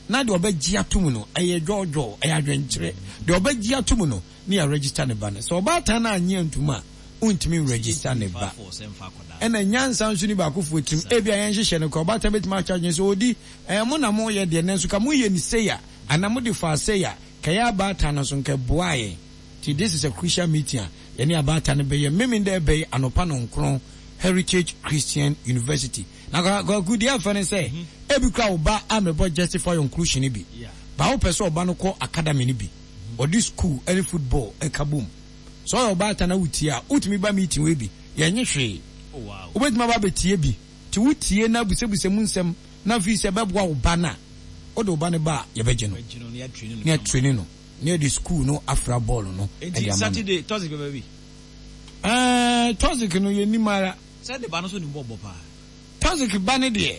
Na deɛ ɔbɛgye atom no, ɛyɛ dwɔɔdwɔɔ, ɛyɛ adwenkyerɛ. Deɛ ɔbɛgye atom no, ne yɛaregister ne ba no. Sɛ ɔbaatan no annye antom a, wontumi nregister ne ba. Ɛna nyansa nso ni baakofoɔ tirim. Ebia yɛn nhyehyɛ no koraa, ɔbaatan bɛtumi akyɛ adwene sɛ, Odi, ɛɛ mo na moyɛ deɛ, nanso ka moyɛ no sei a, anaa mode faa sei a, ka yɛn abaatan no nso nka ɛboaa yɛn. Nti this is a crucial meeting a yɛne abaatan no bɛyɛ Memenda ɛbɛ yi anɔpa nɔnkron, Heritage Christian University. Na Kwaku, deɛ ɛfɛ ne sɛ, ebi koraa wo ba ammɛbɔ Justify Your Inclusion no bi, but wopɛ sɛ ɔba no kɔ academy no bi, ɔde school ne football ka bom. Sɛ ɔyɛ ɔbaatan na wotie a, wotumi ba meeting wei bi, yɛnnye hwee. Wobɛtumi aba abɛtie bi. Nti wotie na busabusa mu nsɛm na afei sɛ ɛbɛboa wo ba no a, wode wo ba no ba a, yɛbɛgye no na yɛatraini no na yɛde school no afra bɔɔl no de Nti ama no. Saturday, Toxic bɛba bi? Ɛɛ, Toxic no yɛnnim ara. Sɛ ne ba no nso nim bɔɔl bɔ paa. Toxic ba no deɛ,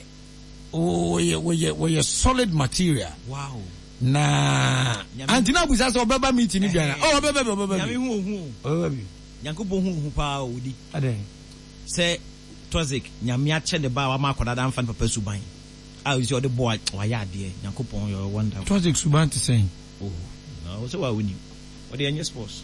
wɔyɛ wɔyɛ wɔyɛ solid material. Wow. Na anti na abusa sɛ ɔbɛba meeting no bi ana? Oh, ɔbɛba bi, ɔbɛba bi. Nyame hu ohu o. Ɔbɛba bi. Nyankopɔn hu ohu paa o, odi. Adɛn? Sɛ Toxic, Nyame akyɛ ne ba a wama akwadaa no amfa ne papa suban a ɔsi ɔde bɔ a wayɛ adeɛ. Nyankopɔn yɛ wonderful. Toxic suban te sɛn? Oh, na wo sɛ wa wonim. Ɔde ɛnyɛ sports.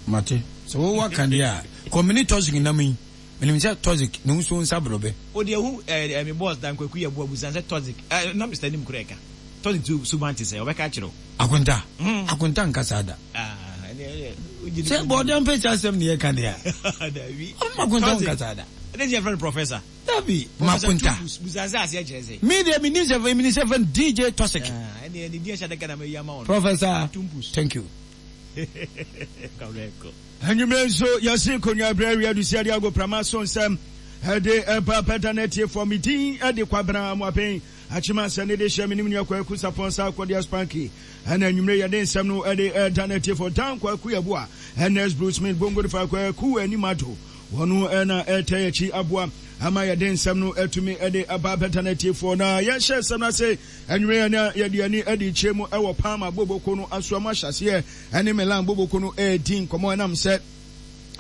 Mate. Sɛ wo waka deɛ a, kɔ mene Toxic nam yi. Menim sɛ Toxic ne nsuo nsa borɔbɛ. O deɛ hu eh eh me boss Dan Kwaku yɛ boa busa no sɛ Toxic eh na Mister Nim koraa ɛka Toxic su suban te sɛn ɔbɛka akyerɛ wo. Akonta, Akonta nka saa da. Ah ɛneɛ ɛneɛ wogye Sɛ bɔɔdeɛ mpɛkyɛ asɛm ne yɛka deɛ a. Dabi. Ɔmo Akonta nka saa da. Ɛdeɛ nti yɛfrɛ no Professor. Dabi, Professor Makonta. Tumbus, busa sɛ aseɛ kyerɛ sɛn. Me deɛ menim sɛ menim sɛ yɛfrɛ no DJ Toxic. Ah ɛneɛ ne din ɛhyɛ adaka na mayi ama wo no. Professor Tumbus. Thank you. Kawurɛkɔ. Anwummerɛ nso, yɛse Konwa berɛ awia Dusia de agoprama so nsɛm de ba bɛda no atiefoɔ. Me din de Kwabena Amoaben Akyem Asɛ ne de hyɛ me ne me nua Kwaku Sapɔn Sarkodie Spanky ɛna anwummerɛ yɛde nsɛm no de da no atiefoɔ. Dan Kwaku Yeboah, Ernest Bruce Smith, Bongo de fa Kwaku Anim Addo, wɔn na ɛtɛ akyi aboa ama yɛde nsɛm no atumi de aba abɛda no atiefoɔ. Na yɛhyɛ nsɛm no ase anwummerɛ na yɛde ani de kyerɛ mu wɔ Palma Boboko no asoa mu ahyɛaseɛ ɛne Milan Boboko no redi nkɔmmɔ ɛnam sɛ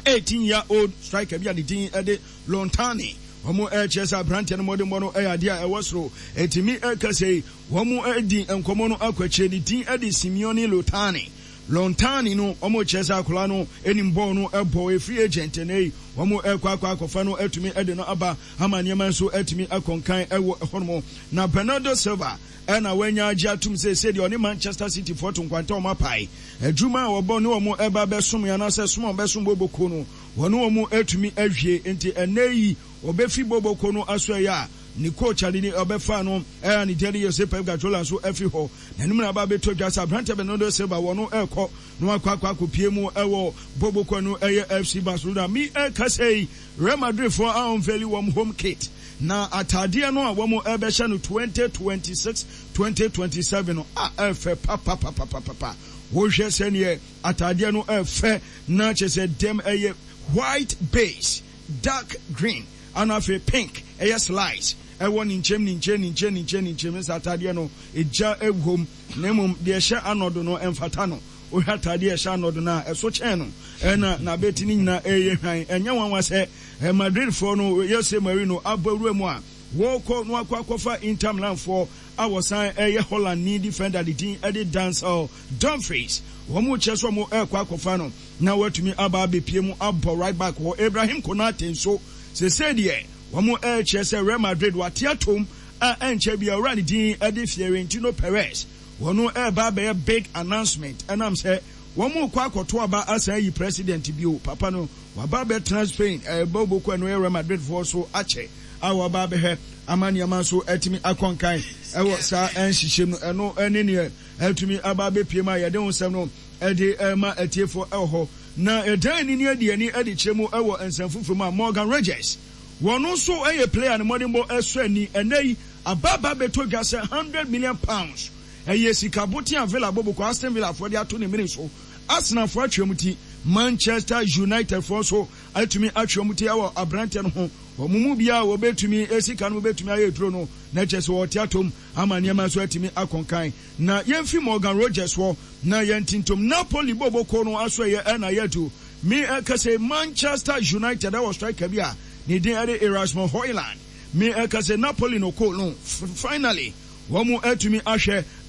18 year old striker bi a ne din de Lontani wɔn rekyerɛ sɛ aberanteɛ no mmɔdenbɔ no yɛ adeɛ a ɛwɔ soro ɛtumi ɛka sɛ wɔn redi nkɔmmɔ no akɔ akyire ne din de Simeone Lotani Lontani no wɔn rekyerɛ sɛ akwadaa no anim bɔɔl no ɛbɔ ɛfiri agent ɛnɛ yi wɔn ɛkɔ akɔ akɔfa no atumi de no aba ama nneɛma nso atumi akɔnkan ɛwɔ ɛhɔnom na Bernardo Silva Ɛna wanya agye atom sɛ sɛdeɛ ɔne Manchester City foɔ to nkwanta a wɔapae adwuma a wɔbɔ ne wɔn reba abɛsom anaasɛ som a wɔbɛsom Boboko no, wɔne wɔn atumi awie. Enti ɛnnɛ yi ɔbɛfi Boboko no asoɛeɛ a ne coach a ne din ɔbɛfaa no a ne din de Jose Pep Guardiola nso afiri hɔ. N'anim na aba abɛtɔ dwa sɛ aberanteɛ Bernardo Silva wɔno rekɔ na wakɔ akɔ akɔpue mu wɔ Boboko no ɛyɛ FC Barcelona. Me ɛrekasa yi Real Madrid foɔ a unveili wɔn home kit. Na ataadeɛ no a wɔn rebɛhyɛ no 2026, 2027 no, a ɛfɛ papapapapapa. Wohwɛ sɛdeɛ ataadeɛ no ɛfɛ na kyerɛ sɛ dɛm ɛyɛ white base, dark green, ana afei pink ɛyɛ slice ɛwɔ ne nkyɛm ne nkyɛn ne nkyɛn ne nkyɛn ne nkyɛn sɛ ataadeɛ no egya ɛwom na mmom deɛ ɛhyɛ anɔdo no ɛmfata no. Wohwɛ ataadeɛ ɛhyɛ anɔdo no a ɛso kyɛn no ɛna n'abɛti no nyinaa ɛyɛ hwan. Ɛnyɛ nwanwa sɛ Madridfoɔ no Jose Mourinho abɔ awura mu a wɔrekɔ na wakɔ akɔfa Inter Milanfoɔ a wɔsan yɛ Hollandni defender ne din de Denzel Dumfries. Wɔn rekyerɛ sɛ wɔrekɔ akɔfa no na watumi aba abɛpue mu abɔ right back hɔ. Ibrahim Konate nso seesei deɛ wɔn rekyerɛ sɛ Real Madrid wate atom a ɛnkyɛ biara owura ne din de Fiorentino Perez wɔn reba abɛyɛ big announcement ɛnam sɛ wɔn rekɔ akɔto aba asan ayi president bio. Papa no Waba abɛtena Spain ɛrebɔ boko a ɛno yɛ Real Madrid foɔ so akyɛ a waba abɛhwɛ ama nneɛma nso atumi akɔ nkan ɛwɔ saa nhyehyɛm no. Ɛno ne neɛ atumi aba abɛpue mu a yɛde ho nsɛm no ɛde ɛrema atiefoɔ ɛwɔ hɔ. Na yɛdan ani ne adi ani ɛde kyerɛ mu ɛwɔ nsɛm foforɔ mu a Morgan Rogers wɔn nso ɛyɛ player ne mmɔdenbɔ ɛsɔ ani ɛnɛ yi aba aba abɛtɔ dwa sɛ £100 million ɛyɛ sika boten a Villa bɔ boko Aston Villa foɔ de ato ne mene so. Arsenal foɔ atwe wɔn ti, Manchester United foɔ nso atumi atwe wɔn ti wɔ aberanteɛ no ho. Wɔn mu biara a wɔbɛtumi sika no bɛtumi ayɛ aduro no, na kyerɛ sɛ wɔte atom ama nneɛma nso atumi akɔ nkan. Na yɛmfi Morgan Rogers hɔ na yɛntintom Napoli boboko no asoɛeɛ ɛna yɛadu. Me ɛka sɛ Manchester United ɛwɔ striker bi a ne din ɛde Erasmus Højlund. Me ɛka sɛ Napoli no ko no finally wɔn atumi ahwɛ.